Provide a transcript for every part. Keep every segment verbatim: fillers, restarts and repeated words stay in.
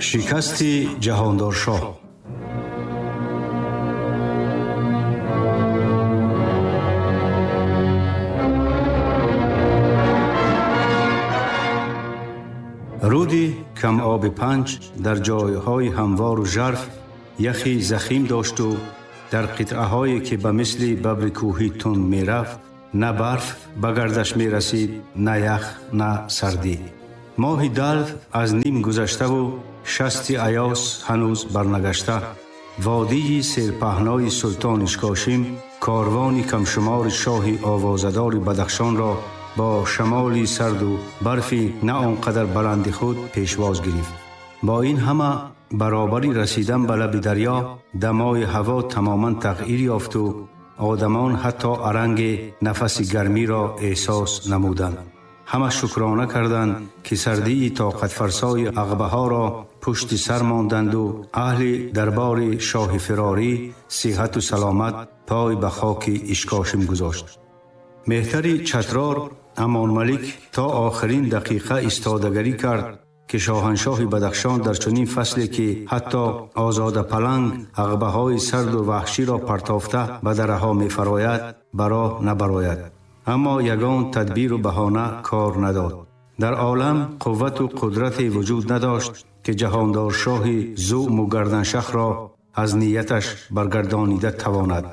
Шикасти Ҷаҳондоршоҳ. Руди камоби Панҷ дар ҷойҳои ҳамвору жарф яхи захим дошту дар қитъаҳое ки ба мисли бабри кӯҳӣ тунд мерафт, на барф ба гардаш мерасид, на ях, на сардӣ. Моҳи далв аз ним гузаштаву шасти аёс ҳанӯз барнагашта, водии серпаҳнои султон Ишкошим корвони камшумори шоҳи овозадори Бадахшонро бо шамоли сарду барфи на он қадар баланди худ пешвоз гирифт. Бо ин ҳама баробари расидан ба лаби дарё дамои ҳаво тамоман тағйир ёфту одамон ҳатто аранги нафаси гармиро эҳсос намуданд. Ҳама шукрона карданд, ки сардии тоқатфарсои ағбаҳоро пушти сар монданду аҳли дарбори шоҳи фирорӣ сиҳату саломат пой ба хоки Ишкошим гузошт. Меҳтари Чатрор Амонмалик то охирин дақиқа истодагарӣ кард, ки шоҳаншоҳи Бадахшон дар чунин фасле, ки ҳатто озода паланг ағбаҳои сарду ваҳширо партофта ба дараҳо мефарояд, ба роҳ набарояд. Аммо ягон тадбиру баҳона кор надод. Дар олам қуввату қудрате вуҷуд надошт, ки ҷаҳондоршоҳи зуъму гарданшахро аз нияташ баргардонида тавонад.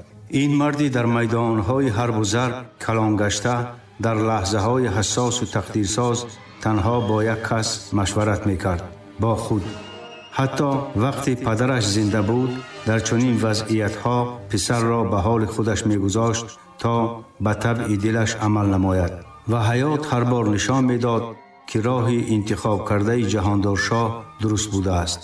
Ин марди дар майдонҳои ҳарбу зарб калонгашта дар лаҳзаҳои ҳассосу тақдирсоз танҳо бо як кас машварат мекард, бо худ. Ҳатто вақте падараш зинда буд, дар чунин вазъиятҳо писарро ба ҳоли худаш мегузошт, то ба табъи дилаш амал намояд. Ва ҳаёт ҳар бор нишон медод, ки роҳи интихоб кардаи ҷаҳондоршоҳ дуруст будааст.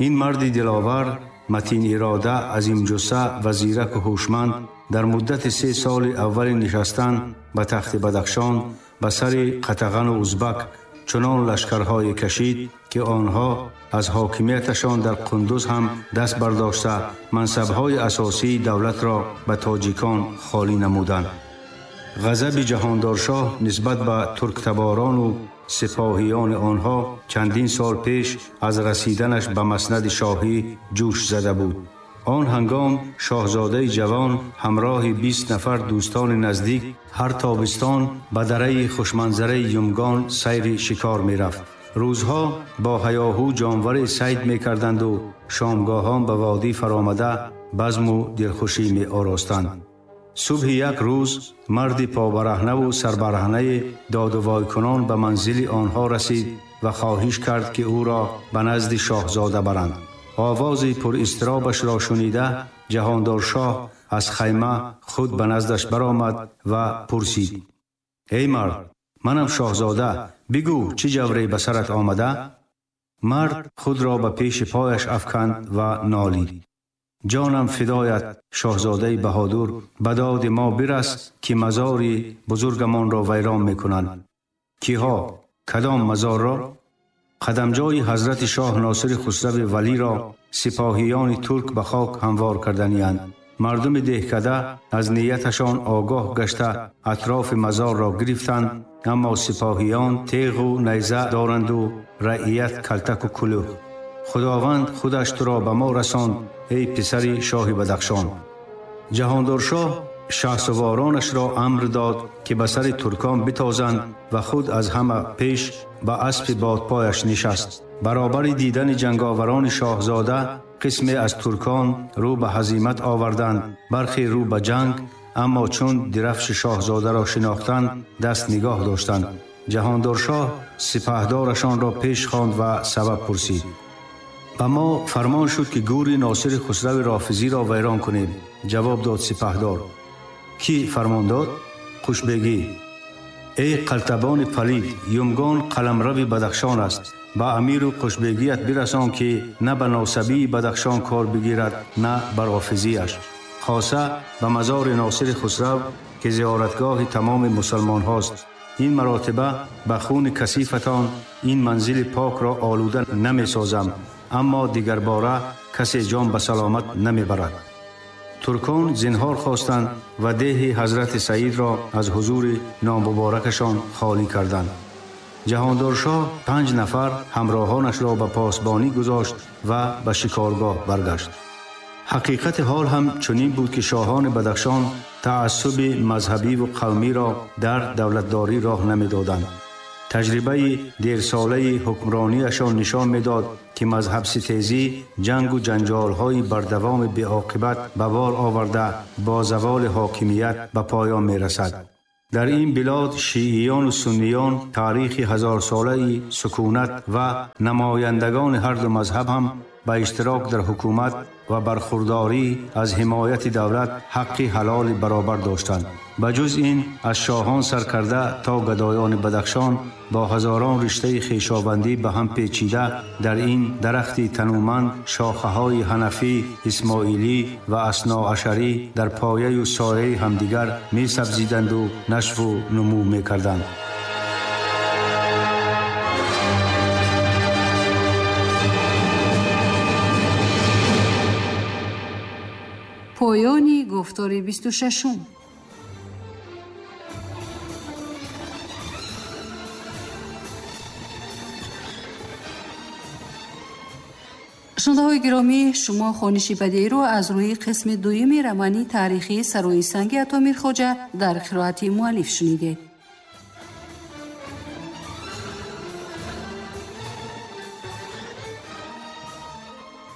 Ин марди диловар, матин ирода, азимҷусса ва зираку ҳушманд дар муддати се соли аввали нишастан ба тахти Бадахшон ба сари қатағану узбак чунон лашкарҳое кашид, ки онҳо аз ҳокимияташон дар Қундуз ҳам даст бардошта, мансабҳои асосии давлатро ба тоҷикон холӣ намуданд. Ғазаби ҷаҳондоршоҳ нисбат ба турктаборону сипоҳиёни онҳо чандин сол пеш аз расиданаш ба маснади шоҳӣ ҷӯш зада буд. Он ҳангом шоҳзодаи ҷавон ҳамроҳи бист нафар дӯстони наздик ҳар тобистон ба дараи хушманзараи Юмгон сайри шикор мерафт. Рӯзҳо бо ҳаёҳу ҷонваре сайд мекарданду шомгоҳон ба водӣ фаромада базму дилхушӣ меоростанд. Субҳи як рӯз марди побараҳнаву сарбараҳнае додувойкунон ба манзили онҳо расид ва хоҳиш кард, ки ӯро ба назди шоҳзода баранд. Овози пуризтиробашро шунида, ҷаҳондоршоҳ аз хайма худ ба наздаш баромад ва пурсид: «Эй мард, манам шоҳзода, бигӯ, чӣ ҷавре ба сарат омада?» Мард худро ба пеши пояш афканд ва нолид: «Ҷонам фидоят, шоҳзодаи баҳодур, ба доди мо бирас, ки мазори бузургамонро вайрон мекунанд». «Киҳо? Кадом мазорро?» «Қадамҷои ҳазрати шоҳ Носири Хусрави Валиро сипоҳиёни турк ба хок ҳамвор карданианд. Мардуми деҳкада аз нияташон огоҳ гашта, атрофи мазорро гирифтанд, аммо сипоҳиён теғу найза доранду раият калтаку кулӯҳ. Худованд худаш туро ба мо расонд, эй писари шоҳи Бадахшон». Ҷаҳондоршоҳ шаҳсуворонашро амр дод, ки ба сари туркон битозанд ва худ аз ҳама пеш ба аспи бодпояш нишаст. Баробари дидани ҷанговарони шоҳзода қисме аз туркон рӯ ба ҳазимат оварданд, бархе рӯ ба ҷанг, аммо чун дирафши шоҳзодаро шинохтанд, даст нигоҳ доштанд. Ҷаҳондоршоҳ сипаҳдорашонро пеш хонд ва сабаб пурсид. «Ба мо фармон шуд, ки гӯри Носири Хусрави Рофизиро вайрон кунем», ҷавоб дод сипаҳдор. «Кӣ фармон дод?» «Қушбегӣ». «Эй қалтабони палид, Юмгон қаламрави Бадахшон аст. Ба амиру қушбегият бирасон, ки на ба носабии Бадахшон кор бигирад, на ба рофизиаш, хоса ба мазори Носири Хусрав, ки зиёратгоҳи тамоми мусалмонҳост. Ин маротиба ба хуни касифатон ин манзили покро олуда намесозам, аммо дигарбора касе ҷон ба саломат намебарад». Туркон зинҳор хостанд ва деҳи ҳазрати Саидро аз ҳузури номуборакашон холӣ карданд. Ҷаҳондоршоҳ панҷ нафар ҳамроҳонашро ба посбонӣ гузошт ва ба шикоргоҳ баргашт. Ҳақиқати ҳол ҳам чунин буд, ки шоҳони Бадахшон таассуби мазҳабиву қавмиро дар давлатдорӣ роҳ намедоданд. Таҷрибаи дерсолаи ҳукмрониашон нишон медод, ки мазҳабситезӣ ҷангу ҷанҷолҳои бардавоми беоқибат ба бор оварда бо заволи ҳокимият ба поён мерасад. Дар ин билод шииёну сунниён таърихи ҳазорсолаи сукунат ва намояндагони ҳар ду мазҳаб ҳам ба иштирок дар ҳукумат ва бархурдорӣ аз ҳимояти давлат ҳаққи ҳалоли баробар доштанд. Ба ҷуз ин аз шоҳон сар карда то гадоёни Бадахшон бо ҳазорон риштаи хешовандӣ ба ҳам печида дар ин дарахти тануманд шохаҳои ҳанафӣ, исмоилӣ ва асноашарӣ дар пояю сояи ҳамдигар месабзиданду нашву нумӯ мекарданд. Поёни гуфтори бисту шашум. Шунавандаҳои гиромӣ, шумо хониши бадеиро аз рӯи қисми дуюми романи таърихии Сарои санги Ато Мирхоҷа дар қироати муаллиф шунидед.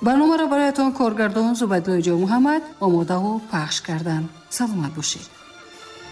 Барномаро бароятон коргардон Зубайдуллои Ҷонмуҳаммад омодаву пахш карданд. Саломат бошед.